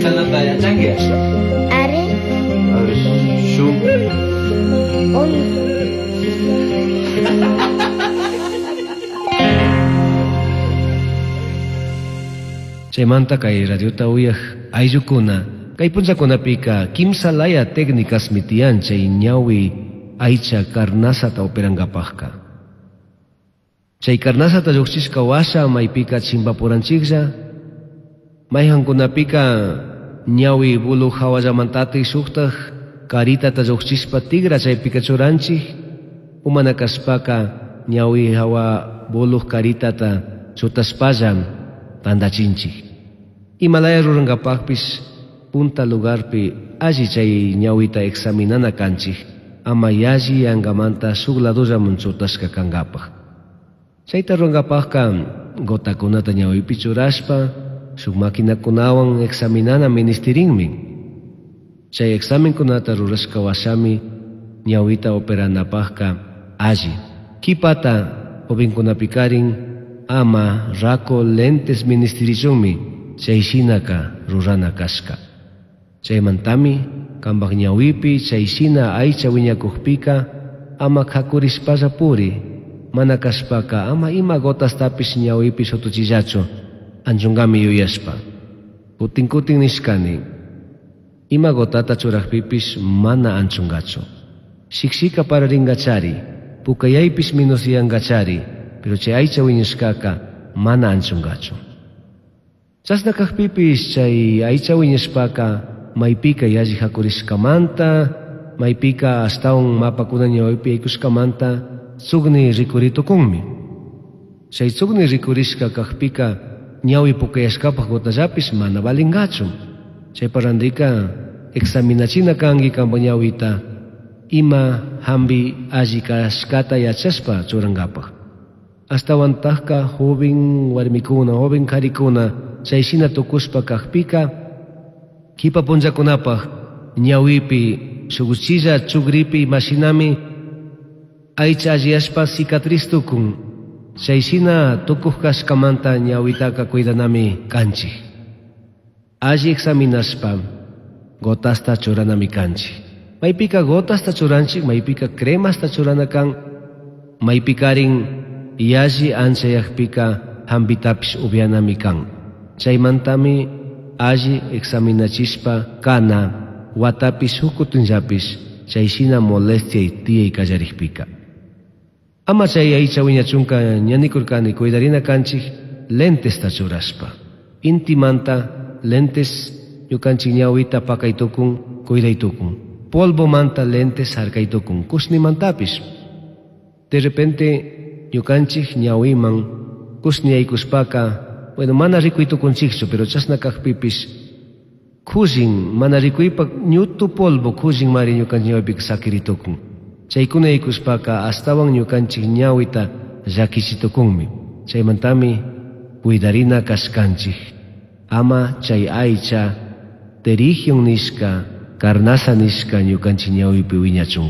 Quilcanata yachanki? Ari. A ver, shuk. Uno. Chaymanta kay radiota uyaj ayllukuna kay punllakunapika kimsa laya técnicasmi tiyan chay ñawi aycha carnazata operankapajka. Chay carnazata lluqchishka washa maypika chimpapuranchiklla, mayqankunapika ñawi bulu hawallamantatik shuktaj karitata lluqchishpa tigra chaypika churanchik, umana kashpaka ñawi hawa buluj karitata chutashpalla tantachinchik. Imalaya rurankapajpish punta lugarpi alli chay ñawita examinana kanchik, ama yalli yankamanta shuk ladollaman chutashka kankapaj. Chayta rurankapajka gotakunata ñawipi churashpa shuk maquinakunawan examinana ministirinmi. Chay examenkunata rurashka washami ñawita operanapajka alli. Kipata jovenkunapikarin ama rako lentes ministirichunmi chay shinaka rurana kashka. Chaymantami kanpak ñawipi chay shina aycha wiñakukpika ama kakurishpalla puri, mana kashpaka ama ima gotastapish ñawipi shutuchillachu anchunkami yuyashpa. Kutin kutin nishkani, ima gotata churakpipish mana anchunkachu. Shikshika pararinkachari, pukayaypish minusyankachari, pero chay aycha wiñashkaka mana anchunkachu. Chashna kakpipish chay aycha wiñashpaka maypika yalli hakurishkamanta, maypika ashtawan mapakuna ñawipi yaykushkamanta tsukni rikuritukunmi. Chay tsukni rikurishka kakpika ñawi pukayashkapaj gotallapish mana valinkachu. Chaypa randika examinachina kanki kanpa ñawita ima hampi alli kashkata yachashpa churankapaj. Ashtawantajka joven warmikuna, joven karikuna chay shina tukushpa kakpika kipa punllakunapaj ñawipi shuk uchilla chukripi imashinami aycha alliyashpa cicatriz tukun. Chay shina tukuj kashkamanta ñawitaka cuidanami kanchik. Alli examinashpa gotasta churanami kanchik. Maypika gotasta churanchik, maypika cremasta churana kan, maypikarin yalli anchayakpika hampitapish upyanami kan. Chaymantami alli examinachishpa kana watapi shuk kutinllapish chay shina molestia tiyay kallarikpika. Ama chay aycha wiñachunka ñanikurkani cuidarina kanchik lentesta churashpa. Intimanta lentes ñukanchik ñawita pakaytukun, cuidaytukun. Polvomanta lentes harkaytukun, kushnimantapish. De repente ñukanchik ñawiman kushni yaykushpaka, bueno, mana rikuytukunchikchu, pero chashna kakpipish kullin mana rikuypak ñutu polvo kullin mari ñukanchik ñawipika sakiritukun. Chaykuna yaykushpaka ashtawan ñukanchik ñawita llakichitukunmi. Chaymantami cuidarina kashkanchik. Ama chay aycha pterigion nishka, carnaza nishka ñukanchik ñawipi wiñachunka.